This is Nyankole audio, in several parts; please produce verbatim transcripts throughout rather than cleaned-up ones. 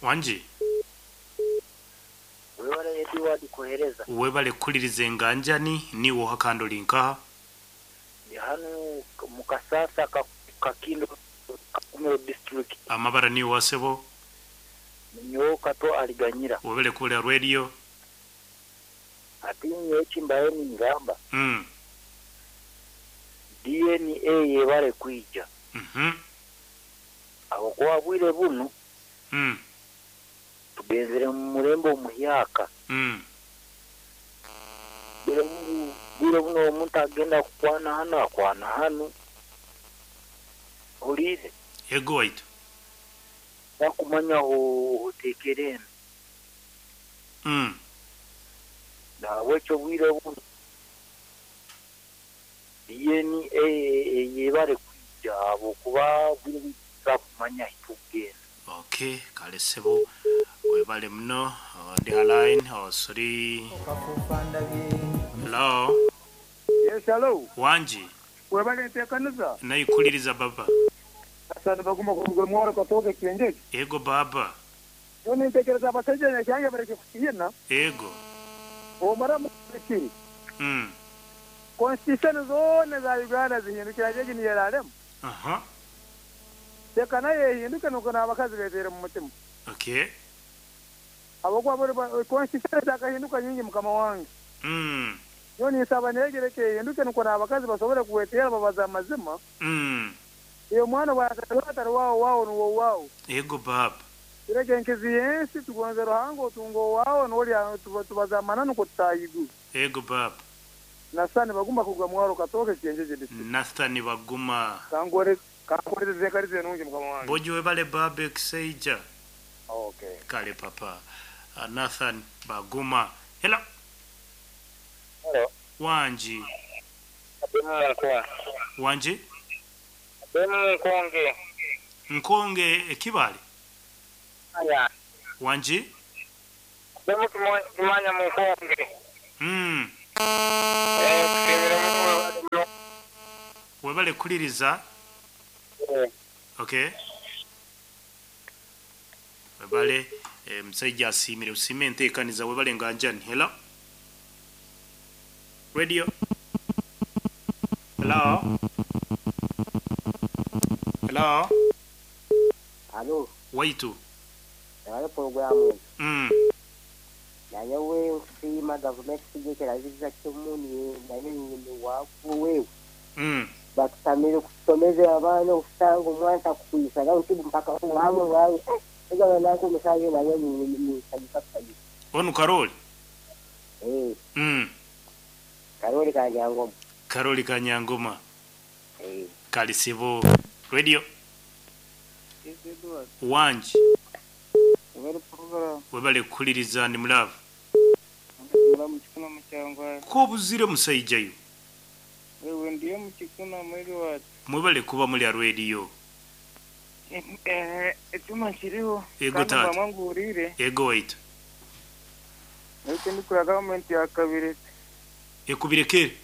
Wangi? Webale Edward kuhereza. Webale kukuliriza enganjani niiwe oha kandi ori nkaha? Ndi hanu mu Kasasa ka Kakindo Kakumiro district. Amabara niiwe wasebo? Nyowe Kato Aliganyira. Webale kuhurira radio. Ati nyowe ekimbaire ningamba. Mm. D N A yebale kwija. Mhm. Ahabw'okuba bwire bunu Mm. tugenzire mu murembe omuhyaka. Mm. Bwire bunu, bwire bunu omuntu agenda kukwana hanu akwana hanu. Oliire? Ego waitu. Bakumanya oteekere eno. Mm. Nahabwekyo bwire bunu D N A yebale kwija ahabw'okuba bwire bunu tutakumanya ahi tukugenda. Okay, kale sebo webale muno. Ndi line oh sorry. Hello. Yes, hello. Wanji. Webale nteekaniza. Nayikuliriza baba. Asante baguma kuruga mwaro katoke kienjeji. Ego baba. Yo nintekereza abasajja nyange bareke kukiyina. Ego. Omara mukiri. Mm. Constitution zone za Uganda zihindukira jeji ni yararemu. Aha. Teka naye ehinduke nuko n'abakazi betere mu mutima. Okay. Abokwa bari constitution zakahinduka nyingi mukama wange. Mm. Yo nisaba negereke ehinduke nuko n'abakazi basobole kuwetera babaza amazima. Mm. Iyo mwana bwatari wao wao nuwo wao. Ego baba. Kireke nkizi yensi tugonze ruhango otungo wao noli tubaza amananu ko tutayigu. Ego baba. Nasani baguma kugwa mwaro katoke kienjeje district. Nathani baguma. Kangore kankoreze zekarize nungi mukama wange. Bojo webale babe kiseija. Okay. Kale papa. Uh, Nathan Baguma. Hello. Hello. Wanji. Nkonge. Wanji? Nkonge. Nkonge ekibale. Aya. Wanji? Demu kimanya munkonge. Mm. Eh, kusimira mu Webale kuliriza. Eh. Okay. Webale eh, musajja asiimire usime enteekaniza webale nganjani. Hello. Radio. Hello. Hello. Hello. Waitu. Hello programu. Mm. Naye nsiima gavumenti sigekeraziza kyomuni naye nyini wakuwe. Mm. Bakutamire kusomeza abaana okusanga omwana takukwisa nawe ntibu mpaka wawe wawe. Ega nako omusajja naye nisanyuka kusanyuka. Onu Karoli? Eh. Mm. Karoli Kanyangoma. Karoli Kanyangoma. Eh. Kalisibo Radio. Wanji. Webale kukuliriza ndi mulavu. Ko buzire musajjayo. Wewe ndiye mukikuna mwiri wacu. Mwebale kuba muri ya radio. Eh, ecyuma kiriho. Ego tata. Mangurire. Ego wait. Ariko ndi kura government ya kabirete. Ekubirekere.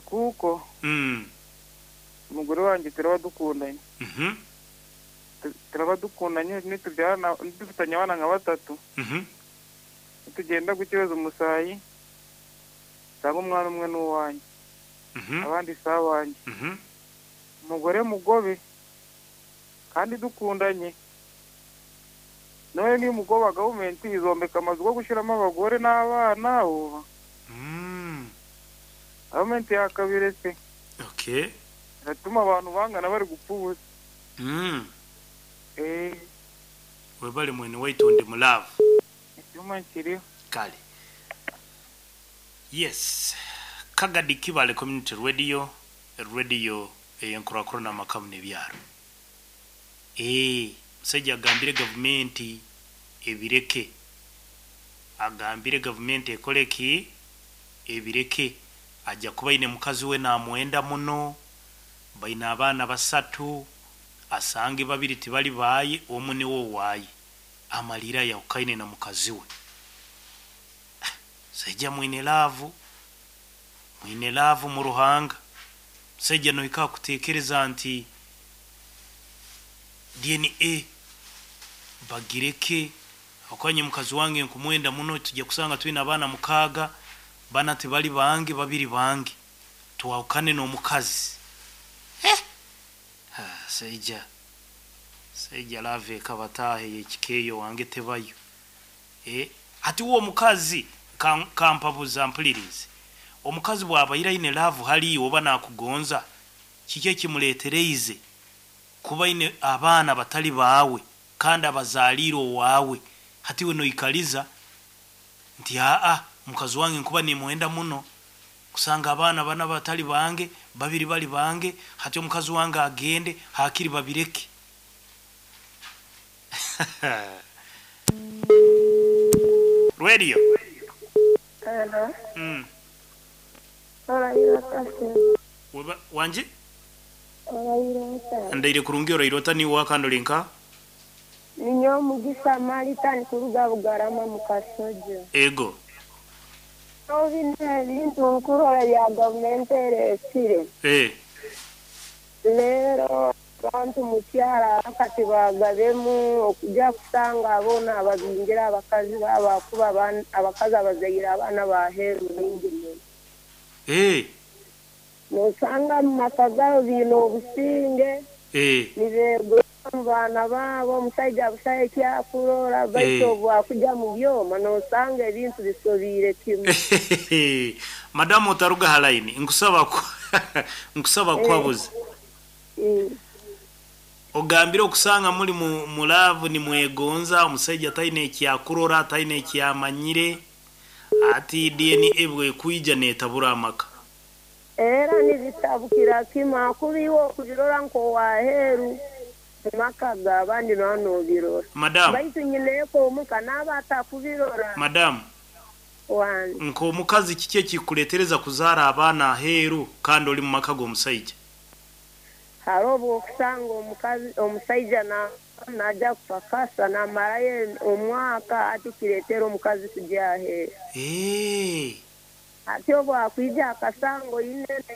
Kuko. Mm. Umugore wanjye turaba dukundanye. Mhm. Turaba dukundanye nitubyarana dufitanye abana nka batatu. Mhm. Tugenda gukibaza umusayi. Cyangwa umwana umwe n'uwanjye. Mhm. Abandi sawanjye. Mhm. Umugore mugobe kandi dukundanye. None ni mugoba government izombeka amazu go gushiramo abagore n'abana uba. Mm. Government yakabiretse. Okay. Ratuma abantu bangana bari gupfubuza. Mm. Eh. Webale mwene waitu ndi mulavu. Icyuma kiriho. Kale. Yes. Kagadi Kibale Community Radio, radio eyenkurakura n'amakamu n'ebyaro. Eh, musajja agambire gavumenti ebireke. Agambire gavumenti ekole ki? Ebireke. Ajja kuba ine mukazi we namwenda muno. Baina abaana basatu. Asange babiri tibali baaye, omu niwo waaye. Amalira yawukaine na mukazi we. Sajja mwine laavu. Mwine laavu mu ruhanga. Sajja noika kutekereza nti D N A Bagireke akwanye mukazi wange nkumwenda muno, tujya kusanga twine abaana mukaaga, bana tibali bange, babiri bange, twawukane n'omukazi. Eh! Ah, seija seija love ekabataahe yekikeeyo wange tebayo. Eh, ati uwo omukazi kan- kampabuza mpulirize, omukazi bw'abaire aine love haliiwe oba nakugonza, kiki ekimuleetereize kuba aine abaana batali baawe kandi abazaaliire owaawe? Hati we noikaliza nti aa, mukazi wange nkuba nimwenda muno, kusanga abaana bana batali bange, babiri bali bange, hati omukazi wange agende, hakiri babireke. Radio. Hello. Mm. Orayira kase. Weba- wanje Orayira ota. ndaire kurungi, oraire ota niwe wakandolinka? Ninyo Mugisa Marita nkuruga Bugarama mu Kasojo. Ego. Bino ebintu nkurora bya gavumenti ereesire. Eh. Leero abantu mu kyalo kati bagabemu okujja kusanga abaana ababingira abakazi baabo akuba abaana- abakazi abazaire abaana baheeru bingi muno. Eh. Nosanga mu maka gaabo biine obusinge, Eh. nibeegura mu baana baabo, omushaija busaho ekyakurora, baitu Eh. obu akujja mu byoma nosanga ebintu bisobiire kimwe. Madamu, otaruga ha line, nkusaba ku nkusaba kwabuza. Mm. Ogambire okusanga muri mu mu love nimwegonza, omusajja taine ekyakurora, taine ekyamanyire, ati D N A bwekwija netabura amaka. Era nibitabukira kimwe akuba iwe okubirora nk'owaheeru mu maka g'abandi noba noobirora. Madamu. Baitu nyineeko omuka naaba atakubirora. Madamu. Wange. Nk'omukazi, kiki ekikuletereza kuzaara abaana aheeru kandi oli mu maka g'omusajja? Hariho obu okusanga omukazi omusaija na- najja kupakasa namarayo omwaka, ati kireetera omukazi kujya aheeru. Eh. Ati obu akwija akasanga oine